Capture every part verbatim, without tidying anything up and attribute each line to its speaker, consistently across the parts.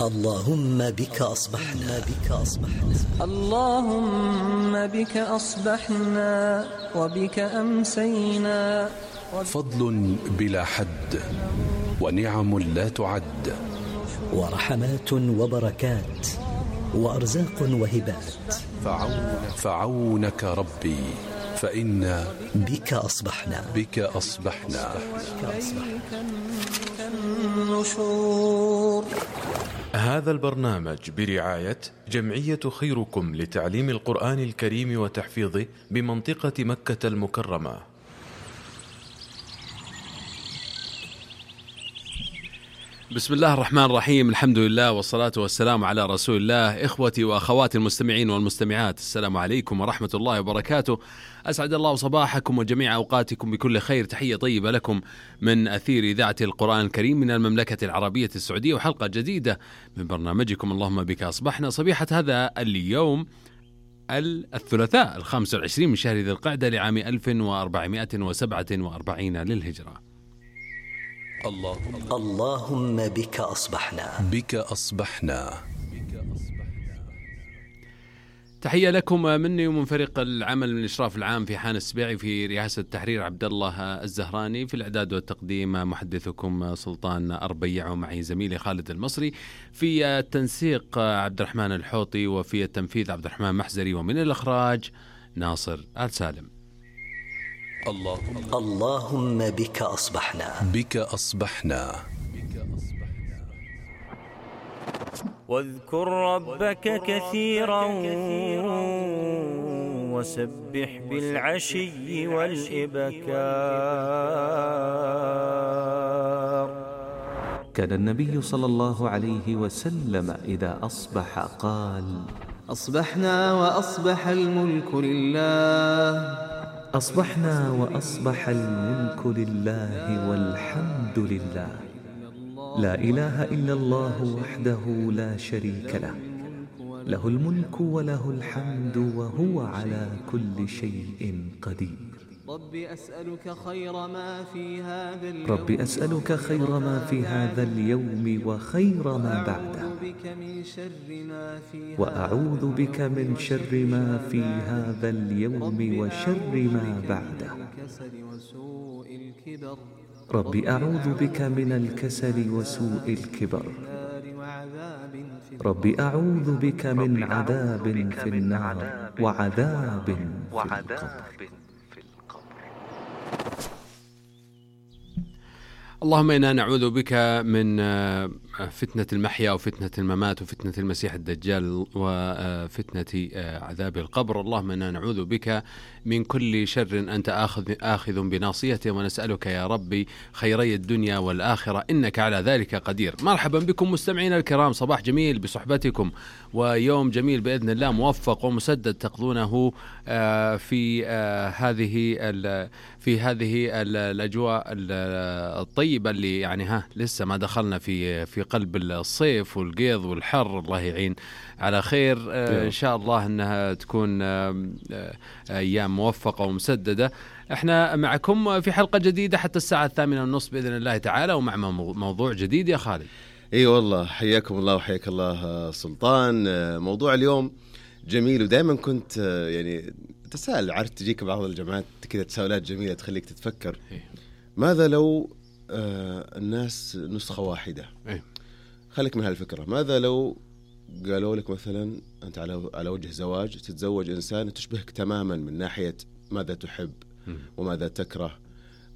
Speaker 1: اللهم بك أصبحنا بك أصبحنا
Speaker 2: اللهم بك أصبحنا وبك أمسينا.
Speaker 3: فضل بلا حد ونعم لا تعد
Speaker 1: ورحمات وبركات وأرزاق وهبات.
Speaker 3: فعونك, فعونك ربي فإنا
Speaker 1: بك أصبحنا
Speaker 3: بك أصبحنا,
Speaker 1: بك أصبحنا.
Speaker 2: النشور.
Speaker 4: هذا البرنامج برعاية جمعية خيركم لتعليم القرآن الكريم وتحفيظه بمنطقة مكة المكرمة.
Speaker 5: بسم الله الرحمن الرحيم، الحمد لله والصلاة والسلام على رسول الله. إخوتي وأخواتي المستمعين والمستمعات، السلام عليكم ورحمة الله وبركاته. أسعد الله صباحكم وجميع أوقاتكم بكل خير. تحية طيبة لكم من أثير إذاعة القرآن الكريم من المملكة العربية السعودية، وحلقة جديدة من برنامجكم اللهم بك أصبحنا، صبيحة هذا اليوم الثلاثاء الخامس والعشرين من شهر ذي القعدة لعام ألف وأربعمائة وسبعة وأربعين للهجرة.
Speaker 3: اللهم,
Speaker 1: اللهم بك أصبحنا
Speaker 3: بك أصبحنا.
Speaker 5: تحية لكم مني ومن فريق العمل من الإشراف العام في حان السبيعي، في رئاسة التحرير عبد الله الزهراني، في الإعداد والتقديم محدثكم سلطان أربيع، ومعي زميلي خالد المصري، في التنسيق عبد الرحمن الحوطي، وفي التنفيذ عبد الرحمن محزري، ومن الإخراج ناصر آل سالم.
Speaker 3: اللهم,
Speaker 1: اللهم بك أصبحنا
Speaker 3: بك أصبحنا.
Speaker 6: واذكر ربك كثيرا وسبح بالعشي والإبكار.
Speaker 7: كان النبي صلى الله عليه وسلم إذا أصبح قال:
Speaker 8: أصبحنا وأصبح الملك لله.
Speaker 7: أصبحنا وأصبح الملك لله والحمد لله، لا إله إلا الله وحده لا شريك له، له الملك وله الحمد وهو على كل شيء قدير.
Speaker 8: رب أسألك خير ما في هذا اليوم
Speaker 7: رب أسألك خير ما في هذا اليوم وخير ما بعده، وأعوذ بك من شر ما في هذا اليوم وشر ما بعده. رب أعوذ بك من الكسل وسوء الكبر. رب أعوذ بك من عذاب في النار وعذاب في القبر.
Speaker 5: اللهم إنا نعوذ بك من فتنة المحيا وفتنة الممات وفتنة المسيح الدجال وفتنة عذاب القبر. اللهم إنا نعوذ بك من كل شر أنت آخذ, آخذ بناصيته، ونسألك يا ربي خيري الدنيا والآخرة إنك على ذلك قدير. مرحبا بكم مستمعين الكرام، صباح جميل بصحبتكم، ويوم جميل بإذن الله موفق ومسدد تقضونه في هذه في هذه الأجواء الطيبة اللي يعني ها لسه ما دخلنا في في قلب الصيف والقيض والحر. الله يعين على خير. إن شاء الله أنها تكون أيام موفقة ومسددة. احنا معكم في حلقة جديدة حتى الساعة الثامنة والنصف بإذن الله تعالى، ومع موضوع جديد يا خالد.
Speaker 9: اي والله، حياكم الله وحياك الله سلطان. موضوع اليوم جميل، ودائما كنت يعني تساءل، عارف تجيك بعض الجماعات كذا تساؤلات جميلة تخليك تتفكر. ماذا لو آه الناس نسخة واحدة؟
Speaker 5: إيه؟
Speaker 9: خليك من هالفكرة. ماذا لو قالوا لك مثلا أنت على على وجه زواج، تتزوج إنسان تشبهك تماما من ناحية ماذا تحب م. وماذا تكره.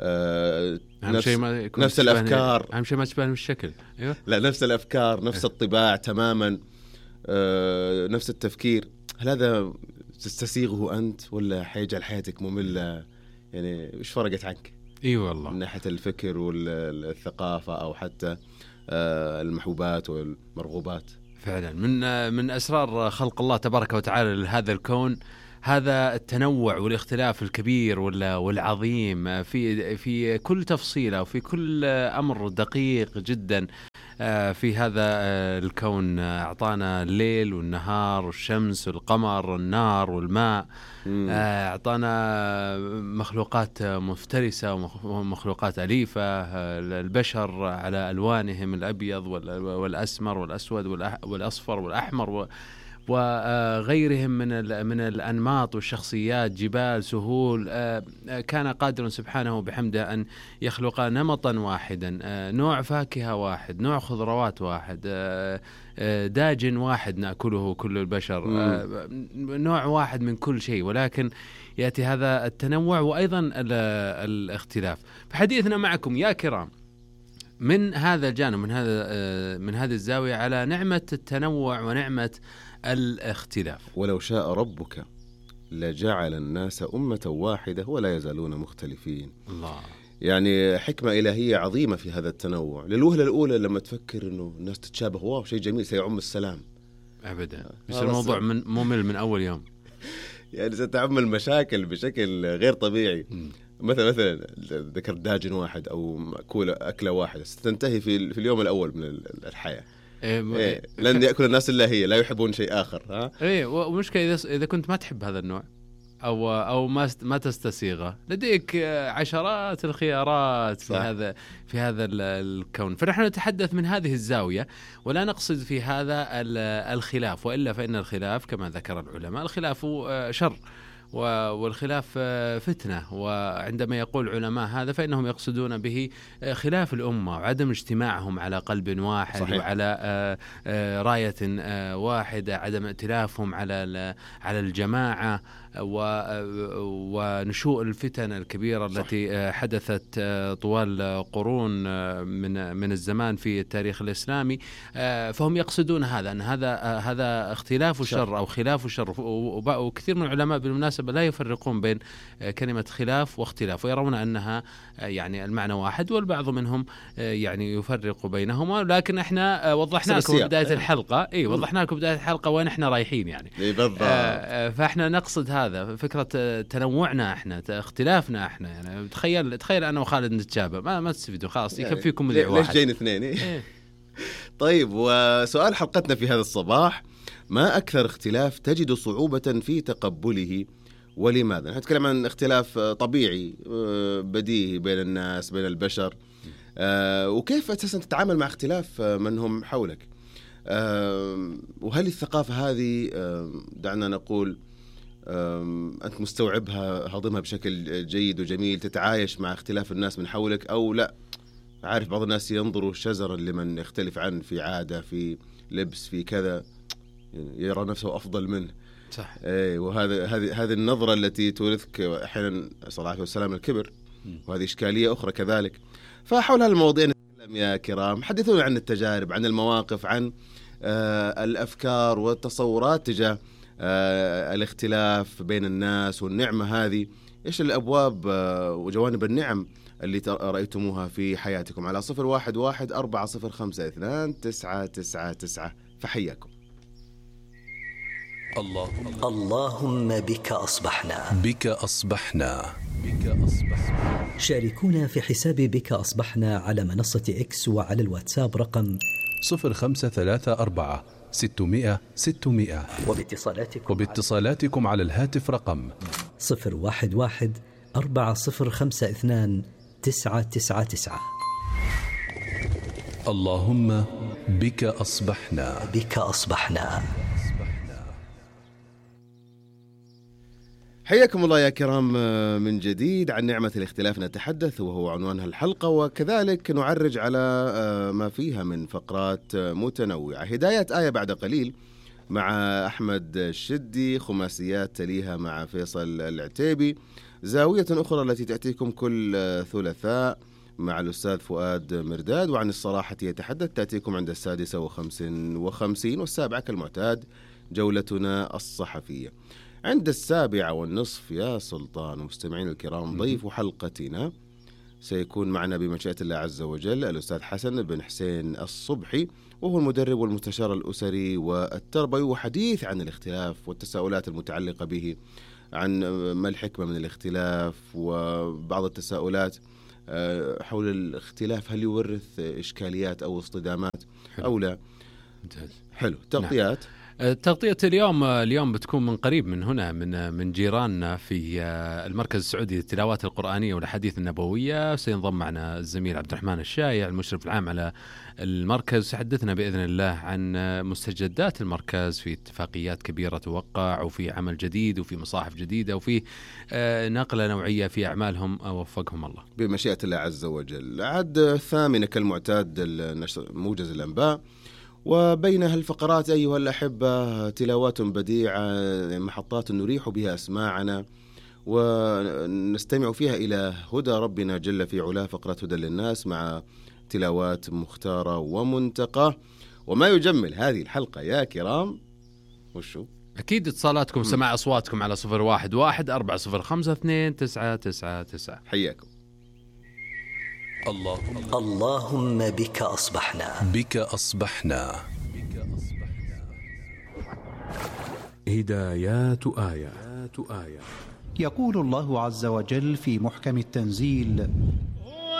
Speaker 9: آه نفس, ما نفس الأفكار.
Speaker 5: أهم شيء ما تشبهني بالشكل.
Speaker 9: أيوة؟ لا، نفس الأفكار، نفس إيه؟ الطباع تماما، آه نفس التفكير. هل هذا تستسيغه أنت ولا حيجعل حياتك مملة؟ يعني وش فرقت عنك؟
Speaker 5: اي والله،
Speaker 9: من ناحية الفكر والثقافة أو حتى المحبوبات والمرغوبات.
Speaker 5: فعلا من من أسرار خلق الله تبارك وتعالى لهذا الكون هذا التنوع والاختلاف الكبير والعظيم في في كل تفصيلة وفي كل أمر دقيق جدا في هذا الكون أعطانا الليل والنهار والشمس والقمر والنار والماء، أعطانا مخلوقات مفترسة ومخلوقات أليفة، البشر على ألوانهم الأبيض والأسمر والأسود والأصفر والأحمر وغيرهم من من الأنماط والشخصيات، جبال، سهول. كان قادر سبحانه بحمده أن يخلق نمطا واحدا، نوع فاكهة واحد، نوع خضروات واحد، داجن واحد نأكله كل البشر، نوع واحد من كل شيء، ولكن يأتي هذا التنوع وأيضا الاختلاف. فحديثنا معكم يا كرام من هذا الجانب، من هذا من هذه الزاوية، على نعمة التنوع ونعمة الاختلاف.
Speaker 9: ولو شاء ربك لجعل الناس أمة واحدة ولا يزالون مختلفين.
Speaker 5: الله،
Speaker 9: يعني حكمة إلهية عظيمة في هذا التنوع. للوهلة الأولى لما تفكر إنه الناس تتشابه، واو شيء جميل سيعم السلام.
Speaker 5: أبدا، بس الموضوع من ممل من أول يوم.
Speaker 9: يعني ستعم المشاكل بشكل غير طبيعي. م. مثلا مثلا ذكرت داجن واحد أو مأكولة أكلة واحدة ستنتهي في في اليوم الأول من الحياة. إيه إيه لن يأكل الناس إلا هي، لا يحبون شيء آخر. ها
Speaker 5: إيه، ومشكلة إذا إذا كنت ما تحب هذا النوع أو أو ما ما تستسيغه، لديك عشرات الخيارات في هذا في هذا الكون. فنحن نتحدث من هذه الزاوية ولا نقصد في هذا الخلاف، وإلا فإن الخلاف كما ذكر العلماء الخلاف شر والخلاف فتنة. وعندما يقول علماء هذا فإنهم يقصدون به خلاف الأمة وعدم اجتماعهم على قلب واحد. صحيح. وعلى راية واحدة، عدم ائتلافهم على على الجماعة ونشوء الفتن الكبيرة. صح. التي حدثت طوال قرون من من الزمان في التاريخ الإسلامي. فهم يقصدون هذا، أن هذا هذا اختلاف الشر أو خلاف الشر. وكثير من العلماء بالمناسبة لا يفرقون بين كلمة خلاف واختلاف، ويرون أنها يعني المعنى واحد، والبعض منهم يعني يفرق بينهما. لكن احنا وضحنا لكم بداية الحلقة، اي وضحنا لكم بداية الحلقة وين احنا رايحين يعني. آه فاحنا نقصد هذا، فكرة تنوعنا احنا، اختلافنا احنا. يعني تخيل تخيل انا وخالد نتشابه، ما ما تستفيدوا خلاص، يكفيكم مذيع واحد.
Speaker 9: ليش جايين اثنين؟ إيه؟ طيب، وسؤال حلقتنا في هذا الصباح: ما أكثر اختلاف تجد صعوبة في تقبله ولماذا؟ نتكلم عن اختلاف طبيعي بديهي بين الناس، بين البشر، وكيف أساسا تتعامل مع اختلاف من هم حولك، وهل الثقافة هذه دعنا نقول أنت مستوعبها، هضمها بشكل جيد وجميل، تتعايش مع اختلاف الناس من حولك، أو لا عارف بعض الناس ينظروا شزرا لمن يختلف عنه في عادة، في لبس، في كذا، يرى نفسه أفضل منه.
Speaker 5: صح.
Speaker 9: ايه، وهذا هذه هذه النظرة التي تورثك أحيانا صلى الله عليه وسلم الكبر، وهذه إشكالية أخرى كذلك. فحول هالمواضيع نتكلم يا كرام. حدثونا عن التجارب، عن المواقف، عن آه الأفكار والتصورات تجاه آه الاختلاف بين الناس والنعمة هذه. إيش الأبواب آه وجوانب النعم اللي رأيتموها في حياتكم؟ على صفر واحد واحد أربعة صفر خمسة اثنان تسعة تسعة تسعة. فحياكم.
Speaker 3: اللهم
Speaker 1: اللهم بك أصبحنا
Speaker 3: بك أصبحنا بك أصبحنا.
Speaker 1: شاركونا في حساب بك أصبحنا على منصة إكس وعلى الواتساب رقم
Speaker 3: صفر خمسة ثلاثة أربعة ستمائة ستمائة،
Speaker 1: وباتصالاتكم
Speaker 3: وباتصالاتكم على الهاتف رقم
Speaker 1: صفر واحد واحد أربعة صفر خمسة اثنان تسعة تسعة تسعة.
Speaker 3: اللهم بك أصبحنا
Speaker 1: بك أصبحنا.
Speaker 9: حياكم الله يا كرام من جديد. عن نعمة الاختلاف نتحدث، وهو عنوان الحلقة، وكذلك نعرج على ما فيها من فقرات متنوعة. هداية آية بعد قليل مع أحمد الشدي، خماسيات تليها مع فيصل العتيبي، زاوية أخرى التي تأتيكم كل ثلاثاء مع الأستاذ فؤاد مرداد، وعن الصراحة يتحدث تأتيكم عند السادسة وخمس وخمسين، والسابعة كالمعتاد جولتنا الصحفية. عند السابعة والنصف يا سلطان ومستمعين الكرام، ضيف حلقتنا سيكون معنا بمشيئة الله عز وجل الأستاذ حسن بن حسين الصبحي، وهو المدرب والمستشار الأسري والتربوي، وحديث عن الاختلاف والتساؤلات المتعلقة به، عن ما الحكمة من الاختلاف، وبعض التساؤلات حول الاختلاف هل يورث إشكاليات أو اصطدامات أو لا. حلو. تغطيات
Speaker 5: تغطية اليوم اليوم بتكون من قريب من هنا من من جيراننا في المركز السعودي للتلاوات القرآنية والأحاديث النبوية. سينضم معنا الزميل عبد الرحمن الشايع المشرف العام على المركز، يحدثنا بإذن الله عن مستجدات المركز في اتفاقيات كبيرة توقع وفي عمل جديد وفي مصاحف جديدة وفي نقلة نوعية في أعمالهم، وفقهم الله
Speaker 9: بمشيئة الله عز وجل. عد الثامنة كالمعتاد موجز الأنباء، وبينها الفقرات أيها الأحبة تلاوات بديعة، محطات نريح بها أسماعنا ونستمع فيها إلى هدى ربنا جل في علاه، فقرة هدى للناس مع تلاوات مختارة ومنتقى. وما يجمل هذه الحلقة يا كرام وشو؟
Speaker 5: أكيد اتصالاتكم، سماع أصواتكم على صفر واحد واحد أربعة صفر خمسة اثنين تسعة تسعة تسعة.
Speaker 9: حياكم.
Speaker 1: اللهم اللهم بك أصبحنا
Speaker 3: بك أصبحنا
Speaker 10: هدايات آيات آيات.
Speaker 11: يقول الله عز وجل في محكم التنزيل: